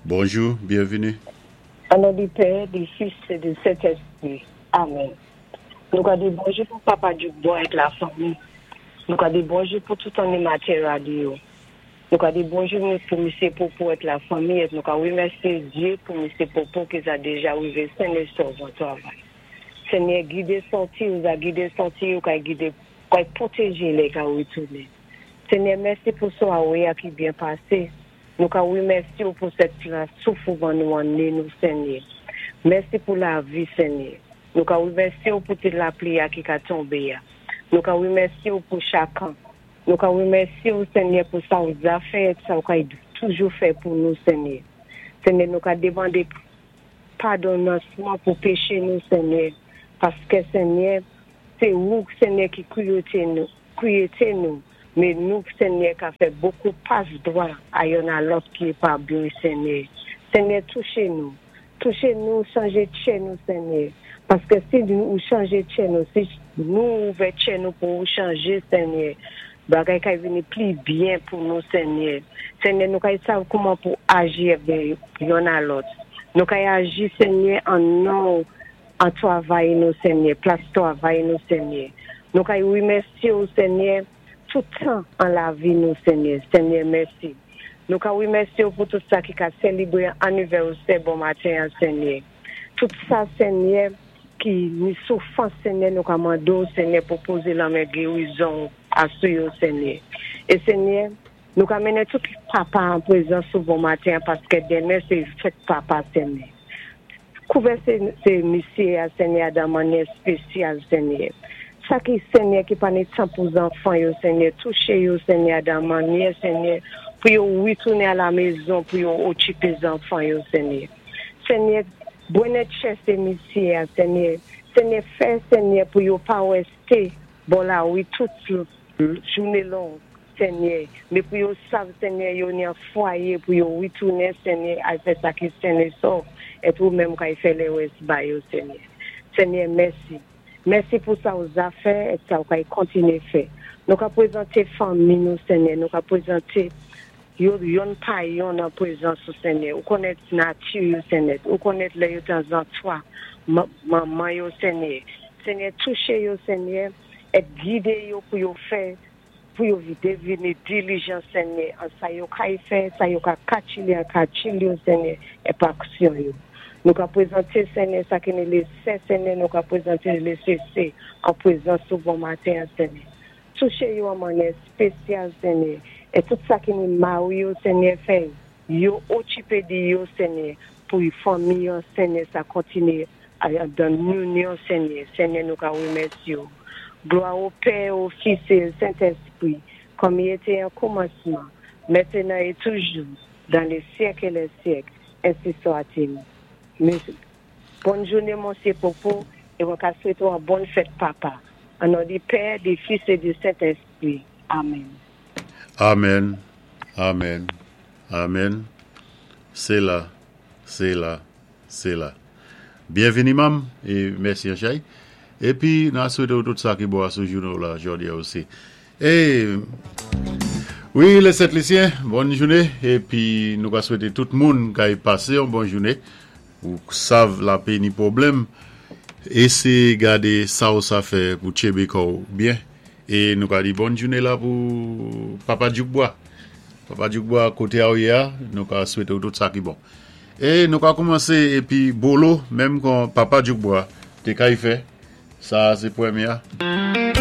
Bonjou, byenvini. O non di Pè, di Fis é di Sentèspri. Amèn. Nou ka di bonjou pou Papa Djoukbò ak lafanmi. Nou ka di bonjou pou tout animatè radyo. Nou ka di bonjou pou Misye Popo ak lafanmi et nou ka remèsye Dye pou Misye Popo ki za deja rive sen é sov an travay. Senyè gide sòti ou za gide sòti ou kay gide kay pwoteje lè ka retounen. Senyè mèsi pou swawe a ki byen pase. Nou ka remèsye ou pou sèt la souf ou ban nou an né nou Senyè. Mèsi pou lavi Senyè. Nou ka remèsye ou pou ti lapli a ki ka tonbé a. Nou ka remèsye ou pou chakan. Nou ka remèsye ou Senyè pou sa ou za fè et sa ou kay toujou fè pou nou Senyè. Senyè nou ka demandé padonansman pou péché nou Senyè paskè Senyè sé ou Senyè ki kriyete nou kriyete nou men nou Senyè ka fè bokou pas dwa a yonn a lòt ki pa byen Senyè. Senyè touché nou. Touché nou chanje tchè nou Senyè. Paskè si ou chanje tchè nou, si nou ouvè tchè nou pou ou chanje Senyè, bagay kay vini pli byen pou nou Senyè. Senyè nou kay sav kouman pou aji avè yonn a lòt. Nou kay aji Senyè an non an travay nou Senyè, plas travay nou Senyè. Nou kay remèsyé ou Senyè tout tan an lavi nou Senyè. Senyè mèsi. Nou ka remèsyé ou pou tout sa ki ka selebré anivèsè bon maten an Senyè. Tout sa Senyè ki ni soufrans Senyè nou ka mandé ou Senyè pou pozé lanmen gerizon asou yo Senyè. É Senyè nou ka mennen tout papa an prezans ou bon maten an paskè denmen sé fèt papa Senyè. Kouvè sé sé misyé a Senyè a dan mannyè spésyal Senyè. Sa ki Senyè ki pa ni tan pou zanfan yo Senyè touché yo Senyè a dan mannyè Senyè pou yo ritounen a la mezon pou yo okipé zanfan yo Senyè. Senyè bwennè tchè sé misyé a Senyè. Senyè fè Senyè pou yo pa résté bò lari tout jouné long Senyè, mé pou yo sav Senyè yo ni an fwayé pou yo ritounen Senyè al fè sa ki sen é sòv et ou menm kay fè lèrès ba yo Senyè. Senyè mèsi. Mèsi pou sa ou za fè et sa ou kay kontiné fè. Nou ka pwézanté fanmi nou Senyè, nou ka pwézanté yo yonn pa yonn an pwézans ou Senyè. Ou konnèt nati yo Senyè, ou konnèt lè yo tanzantwa manman yo Senyè. Senyè touché yo Senyè et gidé yo pou yo fè pou yo devini dilijan Senyè an sa yo kay fè, sa yo ka katchili an katchili yo Senyè é pa aksyon yo. Nou ka pwézanté Senyè sa ki ni lésè Senyè, nou ka pwézanté lésé sé an pwézans ou bon maten an Senyè. Touché yo an mannyè spésyal Senyè, é tout sa ki ni mari yo Senyè fè yo okipé di yo Senyè pou fanmi yo Senyè sa kontiné dan linyon Senyè. Senyè nou ka remèsyé ou. Glwa o Pè, o Fis é o Sentèspri, kòm i été an koumansman, mentenan é toujou, dan lé syèk é lè syèk, ensi swa-t-il. Bòn jouné Monsyé Popo é mwen ka swété ou an bòn fèt papa. An non di Pè, di Fis é di Sentèspri. Amèn. Amen, amen, amen. Séla, séla, séla. Byenvini manm é mèsi Anchay. Épi na swété ou tout sa ki bon asou jouné ou la jòdi a osi. É wi lè Sent Lisyen, bòn jouné épi nou ka swété tout moun kay pasé yon bon jouné. Ou sav lapé ni pwoblèm. Éséyé gadé sa ou sa fè pou tchébé kò ou byen. É nou ka di bòn jouné la pou Papa Djoukbwa. Papa Djoukbwa koté a ou yé a, nou ka swété ou tout sa ki bon. É nou ka koumansé épi Bolo menm kon Papa Djoukbwa té kay fè, sa a sé pwémyé a.